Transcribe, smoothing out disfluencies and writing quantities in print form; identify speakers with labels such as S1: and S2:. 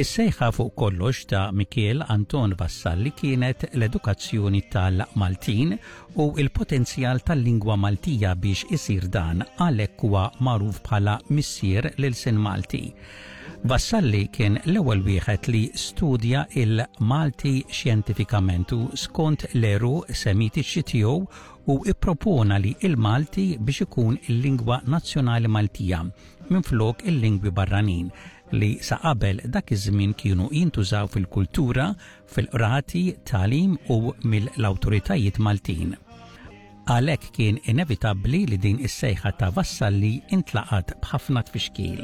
S1: Is-sejħa fuq kollox ta' Mikiel Anton Vassalli kienet l-edukazzjoni tal-Maltin u l-potenzjal tal-lingwa Maltija biex isir dan għalhekk huwa magħruf bħala missier l-ilsien Malti. Vassalli kien l-ewwel wieħed li studja il-Malti xjentifikament u skont l-għeruq Semitiċi tiegħu u ippropona li il-Malti biex ikun il-lingwa nazzjonali Maltija minflok il-lingwi barranin li sa qabel dak iż-żmien kienu jintużaw fil-kultura, fil-qrati, tagħlim u mill-awtoritajiet Maltin. Għalhekk kien inevitabbli li din is-sejħa ta' Vassalli intlaqat b'ħafna tfixkil.